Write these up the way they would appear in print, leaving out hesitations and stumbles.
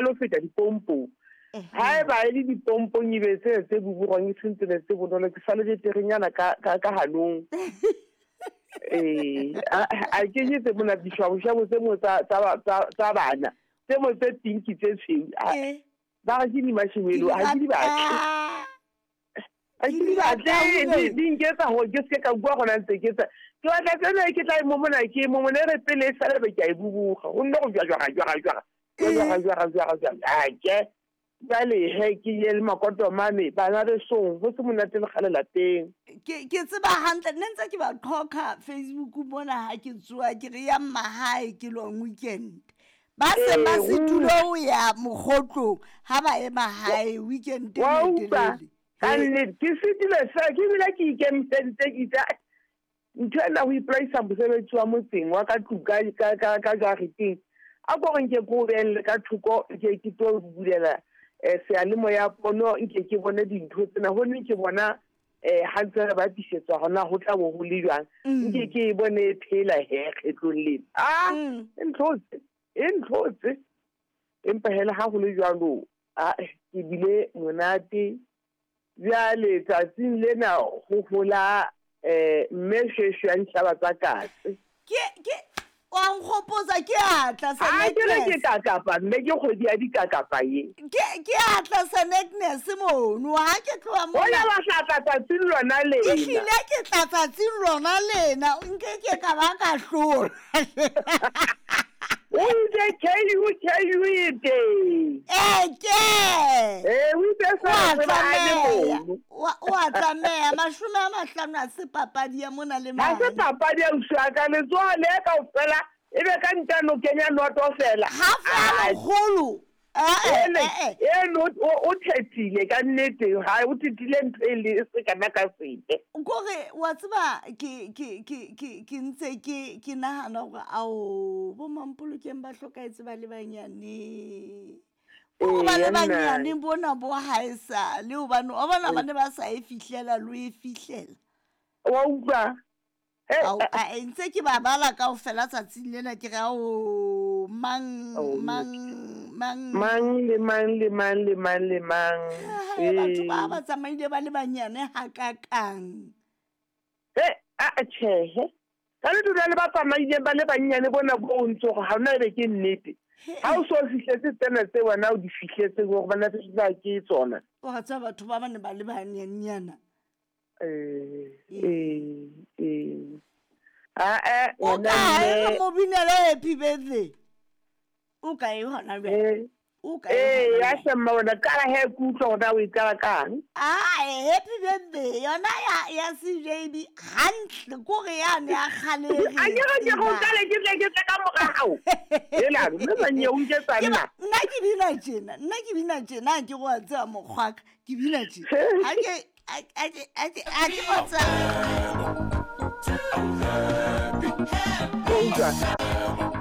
lo feta dipompong. Haeba e le dipompong e be tsena tse bubugwang e seng tsena tse bonolo, ke sale beterenyana ka, ka, ka hanong. Ee, a, a kenyetse mona dishwaboshwabo tse mo tsa, tsa, tsa, tsa bana, tse mo tse pinki tse tshweu. A, Eh. ba re ke di-marshmallow, ha ke di batle. Ha ke di batle, di, di nketsa hore ke seke ka bua gona ntse ke tsa. Ke batla tsena ke tla e momona ke e momona e re pele e sale be ke a e bubuga. Go nne go jwa jwa jwa jwa. Jwa jwa jwa jwa. A ke. Jwale he ke ye le makotomane bana besong ho se monate le kgale lapeng. Ke ke tseba hantle nne ntse ke ba qhoka Facebook mona ha ke tsoa ke re yang mahae ke long weekend. Ba se ba Ee, se tulo ho ya mokgotlong ha ba ye mahae weekend e Wa utlwa telele. ka nnete ke fetile fela ke bile ke ikemiseditse ke itse "Ai, ntho ena ho ipolaisa mosebetsi wa motseng wa ka tlung ka ka ka ka jareteng a ko re nke ke o behelle ka thoko nke ke tlo bulela eh, seyalemoya pono nke ke bone dintho tsena gonne ke bona eh ha ntse re bapisetswa gona ho tla bo ho le jwang nke ke e bone e phela he kgetlong lena a e ntlhotse e ntlhotse empa hela ha ho le jwalo a ke bile monate Bjale tsatsing lena go gola eh mme shweshwe ya dihlaba tsa katse. Ke ke wa nkgopotsa ke atla sa A ke re ke kakapa mme ke kgwedi ya dikakapa ye. Ke ke atla sa Agnes mono ha ke tloha mona. Ona wa tla tla tsatsing lona lena. Ehlile ke tla tsatsing lona lena nke ke ka ba ka hlola. O itse KU KU e teng. Ee ke. Ee o itse Wa sa tseba a le tlameha. mono. Wa wa tlameha 50 ha se papadi ya mona le Ha se mane. papadi ya ausi wa ka letsoho le kaofela e be ka ntano kenya noto fela. Half ya Ah, lekgolo. Eh ene eh eh. eno o o thethile ka nnete ha o thethile ntho e le e se kana ka sepe. Kore wa tseba ke ke ke ke ke ntse ke ke nahana hore ao bo Mampolokeng ba hlokahetse ba le banyane. Bo ba Ee, le nna. banyane bona bo haesale hobane wa bona ba ne ba sa e fihlela lo e fihlela. Wa utlwa? He, Ao, a e ntse ke ba bala kaofela tsatsing lena ke re ao mang Oh, mang mang mang le mang le mang le mang le mang. Hai, batho ba Ee. ba tsamaile ba le banyane hakakang. He, a a tjhehe. Ka le dula le ba tsamaileng ba le bannyane bona bo o ntse hore ha hona ebe ke nnete. Ha o so fihletse tsena tse wena o di fihletseng hore bana ba ke tsona. Wa tseba batho ba ba ne ba le banyenyana. Eh, eh, eh. Ah, eh, O ngwana kae re mme. mo binele happy birthday? O kae hona jwale? Eh, O kae eh, hona ya jwale? shemma wena qala he ke utlwa hore na o e qala kang. Ah, happy birthday yona ya ya CJB hantle kore yane ya kgale e re A e ke re ke go tsebang. qale ke tle ke tle ka mora hao. Hela, mme manye o nketsa Ke nna. ba- nna ke bina tjena nna ke bina tjena ha ke re wa tseba mokgwaka ke bina tjena ha ke ha ke ha ke ha ke wa tseba O utlwa?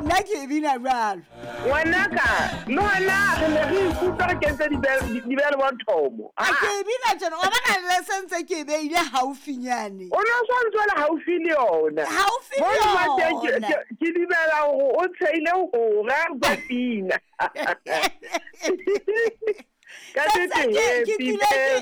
nna ke e bina jwalo Ngwanaka, le wena re ne re ikutlwa re kentse dibele bothomo. a ke e bina tjena wa bona le sentse ke e beile haufinyane O ne o sa ntse o le haufi le yona. Haufi le Mo nna teng yona. ke dumela hore o tsheile hora ka pina. Ka Sentse nnete ke happy tlile ke